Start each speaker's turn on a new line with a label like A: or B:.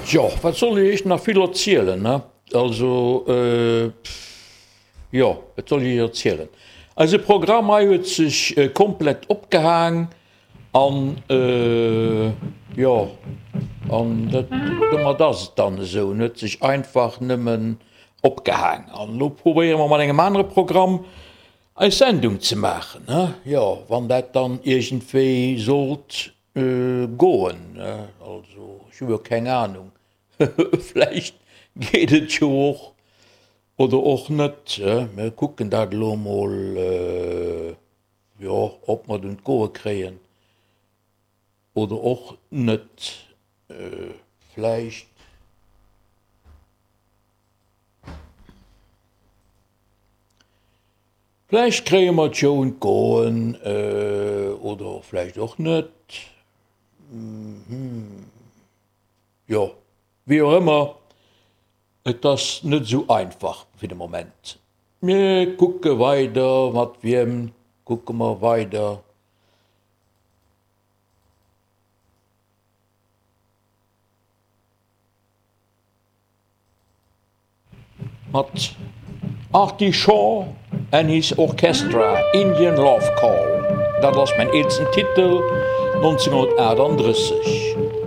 A: Jo, wat soll ech iech nach vill erzielen, ne? Also, jo, wat soll ech iech erzielen? Eise Programm hei huet sech komplett opgehaang an, jo, an dat, domat ass et dann esou, en huet sech einfach nëmmen opgehaang. An elo probéiere mer mat engem anere Programm eis Sendung ze maachen, ne? Jo, wann dat dann iergendwéi sollt Goen, also ech hu jo keng Ahnung, vläicht geet et jo och oder och net. Mir kucken dat elo emol, jo, ob mer et un d'Goe kréien oder och net. Vläicht. Vläicht kréie mer et jo un d'Goen, oder vläicht och net. Jo, wéi och ëmmer, et ass net esou einfach fir de Moment. Mir kucke weider, mat wiem kucke mer weider? Mat Artie Shaw and his Orchestra, Indian Love Call, dat ass mäin eelsten Titel, 1938.